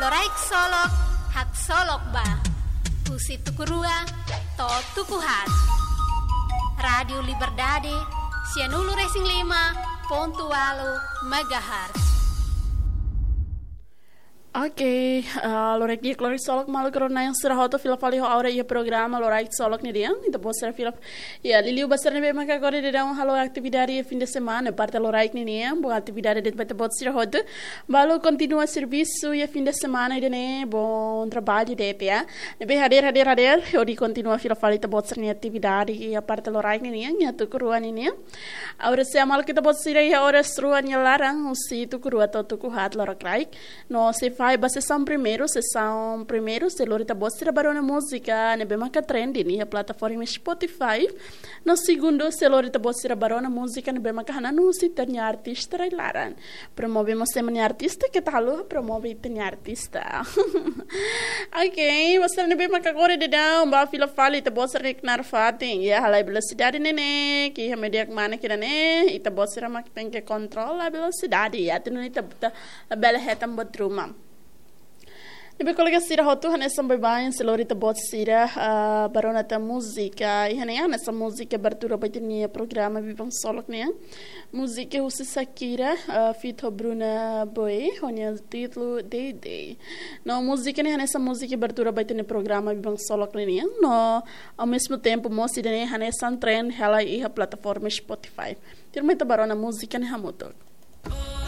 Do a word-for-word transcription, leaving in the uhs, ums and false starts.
Loraik Solok, haksolok ba. Husi tuku rua to'o tuku haat. Rádiu Liberdade, sianulu-resin-lima pontu ualu megahertz. Oke, ah, loraik di'ak, loraik solok maluk rona yang sira hotu, fila fali ho ha'u iha programa Loraik Solok ninian. Ita-boot sira fila, ya, liuliu ba sira ne'ebé maka agora daudaun halo atividade iha fim de semana, parte loraik ninian, boa atividade de'it ba ita-boot sira hotu. Balu kontinua servisu iha fim de semana ida-ne'e, bom trabalho de'it, ya. Ne'ebé hadeer, hadeer, hadeer, hodi kontinua fila fali ita-boot sira-nia atividade iha parte loraik ninian, iha tuku rua ninian. Agora se amal ita-boot sira iha oras rua nia laran, husi tuku rua to'o tuku haat lorokraik. No se fahe ba sesaun primeiru, sesaun primeiru, se lori ita-boot sira ba rona múzika ne'ebé maka trending iha plataforma Spotify. No segundu, se lori ita-boot sira ba rona múzika ne'ebé maka hananu husi ita-nia artista rai-laran. Promove mós ema nia artista, keta haluha promove ita-nia artista. Oke, ba sira ne'ebé maka agora daudaun ba fila fali ita-boot sira-nia knaar fatin, ya, halai velosidade ne'e ne'e, ke iha média mana kira ne'e, ita-boot sira mak tenke kontrola velosidade, ya, atu nune'e ita, ita labele hetan buat ruma. Ne'ebé kolega sira hotu, hanesan baibain se lori ita-boot sira, ah, ba rona tan múzika, iha ne'e hanesan múzika abertura ba ita-nia programa Biban Solok ne'e. Múzika husi Shakira, ah, feat ho Burna Boy, ho nia títulu Day Day. No múzika ne'e hanesan múzika abertura ba ita-nia programa Biban Solok ninian. No, ao mesmo tempo, mós ida-ne'e hanesan trend hela iha plataforma Spotify. Tuirmai ita ba rona múzika ne'e hamutuk.